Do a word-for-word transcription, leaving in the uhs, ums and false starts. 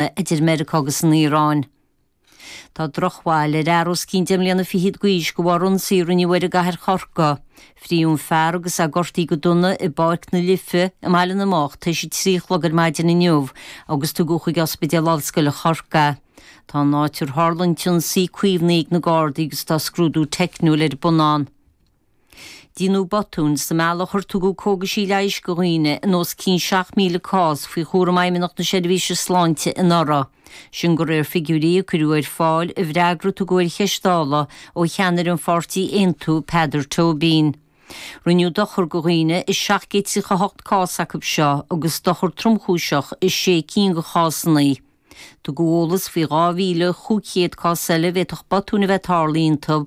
idir Meiriceá agus an Iaráin. Tá drochbhail ar fhear os cionn deich mbliana fichead d'aois de bharr ionsaí a rinneadh air i gcathair Chorcaí. Frítheadh an fear agus é gortaithe go dona i bPáirc na Life i mBaile na mBeach tar éis a trí a chlog ar maidin inniu agus tugadh chuig Ospidéal Ollscoile Chorcaí. Tá an áit ar tharla an t-ionsaí caomhnaithe ag na Gardaí agus tá scrúdú teicniúil ar bun ann. Déanadh botúin sa mbealach ar tugadh cógaisí leighis do dhaoine in os cionn seacht míle cás faoi chúram Fheidhmeannacht na Seirbhíse Sláinte anuraidh. Sin de réir figiúirí a cuireadh ar fáil i bhfreagra a tugadh ar cheist Dála ó cheannaire an pháirtí Aontú Peadar Tóibín. Rinneadh dochar do dhaoine i seacht gcéad tríocha hocht cás acu seo agus dochar tromchúiseach i sé cinn de chásanna. Tugadh eolas faoi dhá mhíle cúig chéad cás eile a bhféadfadh botúin a bheith tarlaithe iontu